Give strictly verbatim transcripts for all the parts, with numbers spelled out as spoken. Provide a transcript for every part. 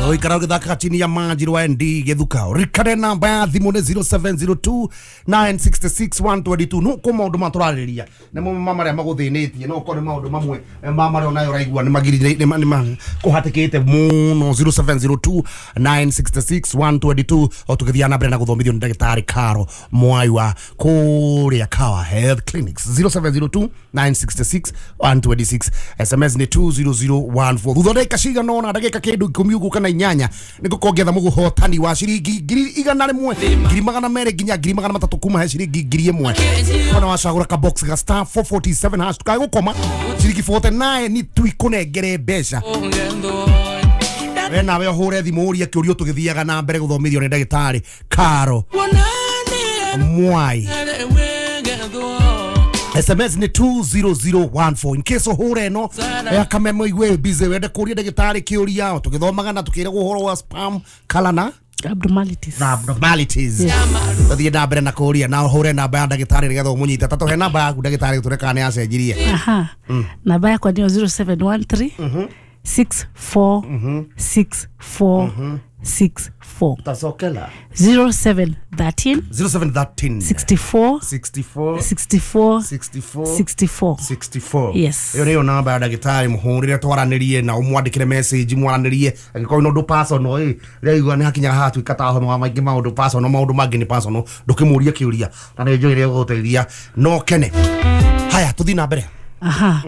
Oikara ũgĩthakaga chini ya maji rwa N D Gĩthuka. Rikare namba ya thimũ nĩ zero seven zero two nine six six one two two. No kũ maũndũ ma tũrarĩrĩria nĩ mo ma marĩa magũthĩnĩtie, no ũkorwo nĩ maũndũ mamwe ma marĩa onayo ũraigua nĩ magirire nĩ ma kũhatĩkĩte mũno. Zero seven zero two nine six six one two two. O tũgĩthiĩ na mbere na gũthomithio nĩ ndagĩtarĩ Caro Mwai wa kũrĩa Kawa Health Clinics. Zero seven zero two nine six six one two six. S M S nĩ two zero zero one four. Thutha wa ndagĩka cigana ũna, ndagĩka kĩndũ ikũmi ũguo kana inyanya, nĩ ngũkongetha mũgũhotani wa ciringi ngiri igana rĩmwe, ngiri magana merĩ nginya ngiri magana matatũ kuma he ciringi ngiri ĩmwe. Ona wacagũra ka box ga star four forty seven hash tukae gũkoma ciringi forty nine nĩ tuikũnengere mbeca. We nawe ũhũre thimũ ũrie kĩũria tũgĩthiaga na mbere gũthomithio nĩ ndagĩtarĩ Caro Mwai. S M S ni two zero zero one four. In case ũhũre ĩno ya kamemo igue busy wende kũria ndagĩtarĩ kĩũria tũgĩthomaga na tũkĩragwo ũhoro wa spam color na abnormalities. Na abnormalities. Tũthiĩ na mbere na kũria na ũhũre namba ya ndagĩtarĩ nĩgetha ũmũnyite. Ta tũhe namba yaku ndagĩtarĩ tũre kana nĩ acenjirie. Aha. Namba yakwa nĩ zero seven one three six four six four six four. Tazokela. Zero seven thirteen. Zero seven thirteen. Sixty four. Sixty four. Sixty four. Sixty four. Sixty four. Sixty four. Yes. Iyo niyo namba ya ndagĩtarĩ mũhũrĩre twaranĩrie na ũmwandĩkĩre message mwaranĩrie angĩkorwo nĩ ũndũ personal ĩ rĩu igua nĩ hakinyaga hatuĩka ta homa maingĩ maũndũ personal maũndũ mangĩ nĩ personal ndũkĩmũrie kĩũria na nĩ njũĩ rĩrĩa gũgũteithia no kene. Haya tũthiĩ na mbere. Aha.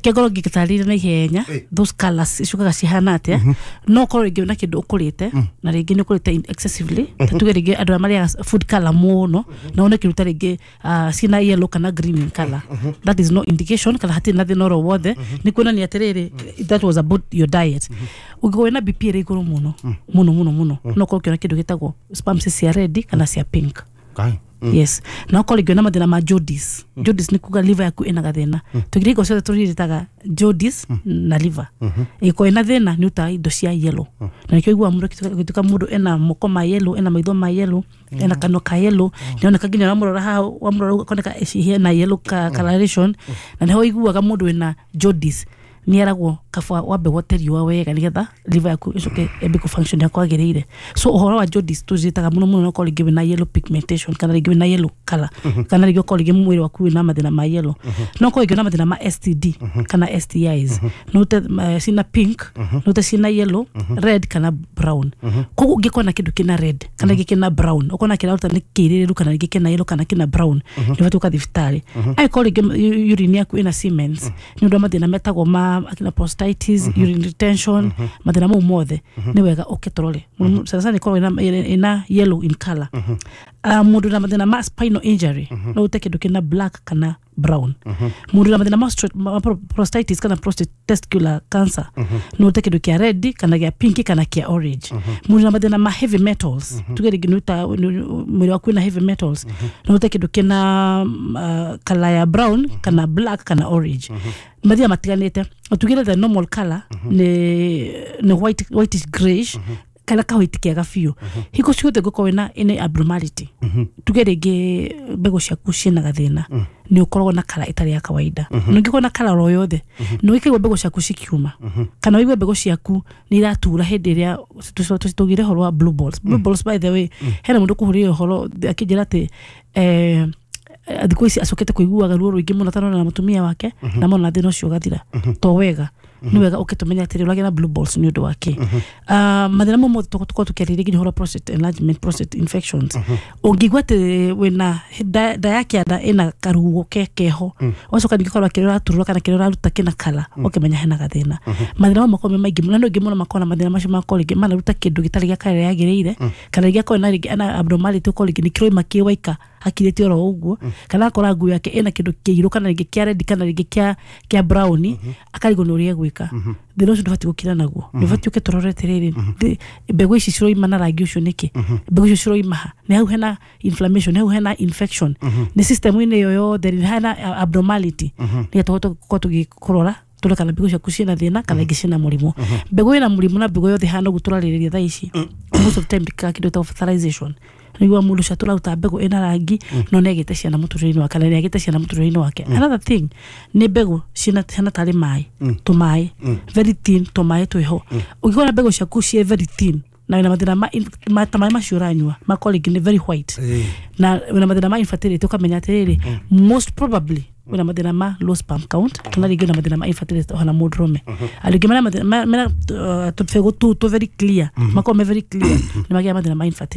Kegoro ngĩtarĩria na ihenya those colors icukaga cihana atĩa no korwo rĩngĩ na kĩndũ ũkũrĩte na rĩngĩ nĩ ũkũrĩte excessively ta tuge rĩngĩ andũ arĩa marĩaga food color mũno na one kĩruta rĩngĩ ciĩna yellow kana green in color, that is no indication kana hatirĩ na thĩna oro wothe nĩ kuonania atĩrĩrĩ that was about your diet. Ũngĩkorwo wĩna B P ĩrĩ igũrũ mũno mũno mũno mũno no korwo ũkĩona kĩndũ gĩtagwo sperms cia red kana cia pink. Mm. Yes. Na ukorwo rĩngĩ na mathĩna ma jaundice. Mm. Jaundice nĩ kuga liver yaku ĩna gathĩna. Mm. Tũgire hingo ciothe tũriritaga jaundice mm. na liver. Mm -hmm. Ĩkorwo ĩna thĩna nĩ utaga indo cia yellow. Mm. Na nĩkĩo ũiguaga mũndũ agĩtuĩka mũndũ ena moko ma yellow, ena maitho ma yellow, mm. ena kanua ka yellow. Mm. Nĩoneka nginya wamũrora haha wamũrora ũkoneka hena yellow ka coloration. Mm. Na nĩho ũiguaga mũndũ wĩna jaundice nĩ eragwo kaba wambe wote riũa wega nĩgetha liver yaku ĩcoke ĩambe kũ function ya kwagĩrĩire. So ũhoro wa jaundice tũcitaga mũno mũno no korwo rĩngĩ wĩna yellow pigmentation kana rĩngĩ wĩna yellow color kana rĩngĩ ũkorwo rĩngĩ mwĩrĩ waku wĩna mathĩna ma yellow. No korwo rĩngĩ wĩna mathĩna ma S T D kana S T Is no te cina pink no te cina yellow red kana brown. Koguo ũngĩkorwo na kĩndũ kĩna red kana rĩngĩ kĩna brown ũkona kĩraruta nĩ kĩirĩrĩru kana rĩngĩ kĩna yellow kana kĩna brown nĩ ũbatiĩ ũgathiĩ thibitarĩ. Angĩkorwo rĩngĩ urine yaku ĩna cements nĩ ũndũ wa mathĩna metagwo ma akina prostatitis, mm -hmm. urine retention, mm -hmm. mathĩna mau mothe mm -hmm. nĩ wega ũke tũrore. Mm -hmm. Sana sana ikorwo ina, ina yellow in color. Mm -hmm. Uh, mũndũ na mathĩna ma spinal injury mm -hmm. no ũte kĩndũ kĩna black kana brown. Mm -hmm. Mũndũ na mathĩna ma, ma prostatitis kana prostate testicular cancer mm -hmm. no ũte kĩndũ kĩa red kana kĩa pink kana kĩa orange. Mm -hmm. Mũndũ na mathĩna ma heavy metals mm -hmm. tuge rĩngĩ nĩ mwĩrĩ waku wĩna heavy metals mm -hmm. no ũte kĩndũ kĩna uh, color ya brown mm -hmm. kana black kana orange. Mm -hmm. Mathĩna matiganĩte tugire the normal color mm -hmm. ni ni white whitish grayish mm -hmm. kana ka white kega biũ. Hingo ciothe ngũkorwo wĩna any abnormality mm -hmm. tuge rĩngĩ mbegũ ciaku ciĩna gathĩna mm -hmm. nĩ ũkoragwo na kala ĩtarĩ ya kawaida. Mm -hmm. Ũngĩkorwo na kala oro yothe mm -hmm. nĩ ũikaigua mbegũ ciaku cikiuma mm -hmm. kana ũigue mbegũ ciaku nĩ iratura hĩndĩ ĩrĩa tũgire ũhoro wa blue balls. Blue mm -hmm. balls by the way mm -hmm. hena mũndũ kũhũrĩra ũhoro akĩnjĩra atĩ eh thikũ ici acokete kũiguaga ruo rũingĩ mũno tarona na mũtumia wake mm -hmm. na mona thĩna ũcio ũgathira mm -hmm. to wega mm -hmm. nĩ wega ũkĩtũmenya atĩrĩ ũragĩa na blue balls nĩ ũndũ wa kĩ. Mm -hmm. uh, mathĩna mau mothe tũkorwo tũkĩarĩrĩria nginya ũhoro wa prostate enlargement, prostate infections. Mm -hmm. Ũngĩigua atĩ wĩna nda ya kĩanda ĩna karuo ke keho ũgacoka ningĩ ũkorwo kĩrĩa ũraturũra kana kĩrĩa ũraruta kĩna kala ũkĩmenya hena gathĩna. Mathĩna mau makorwo me maingĩ mũno na nĩ ũngĩ mũno makorwo na mathĩna macio makorwo rĩngĩ manaruta kĩndũ gĩtarĩ gĩa kala ĩrĩa yagĩrĩire kana rĩngĩ akorwo na rĩngĩ ana abnormality ũkorwo rĩngĩ nĩ kĩroima kĩ waika hakirĩte oro ũguo kana akora nguo yake ĩna kĩndũ kĩirũ kana rĩngĩ kĩa red kana rĩngĩ kĩa kĩa brown akarigwo nĩ ũrĩa egwĩka. Thĩna ũcio ndũbatiĩ gũkira naguo nĩ ũbatiĩ ũke tũrore atĩrĩrĩ mbegũ ici ciroima na rangi ũcio nĩkĩ, mbegũ icio ciroima ha, nĩ hau hena inflammation, nĩ hau hena infection, nĩ system-inĩ ĩyo yothe nĩ hena abnormality nĩgetha tũhote gũkorwo tũgĩkũrora tũrore kana mbegũ ciaku ciĩna thĩna kana ingĩ ciĩna mũrimũ. Mbegũ ĩna mũrimũ na mbegũ yothe hana ũguo tũrarĩrĩria thaa ici Most of the time ndikaga kĩndũ gĩtagwo fertilization, nĩguo mũndũ ũcio atũraruta mbegũ ĩna rangi no nĩ agĩte ciana mũtũrĩre-inĩ wake, na nĩ agĩte ciana mũtũrĩre-inĩ wake. Another thing nĩ mbegũ ciĩna ciana tarĩ maĩ, tũmaĩ very thin, tũmaĩ twĩho. Ũngĩkora mbegũ ciaku ciĩ very thin na wĩna mathĩna ma in- ma- ta maĩ macio ũranyua makorwo rĩngĩ nĩ very white Ĩĩ. na wĩna mathĩna ma infertility, ũkamenya atĩrĩrĩ, most probably wĩna mathĩna ma low sperm count kana rĩngĩ wĩna mathĩna ma infertility ona mũndũrũme. Andũ aingĩ mena mathĩna mena uh, tũbegũ tũu tũ very clear, makorwo me very clear, nĩ magĩaga mathĩna ma infertility.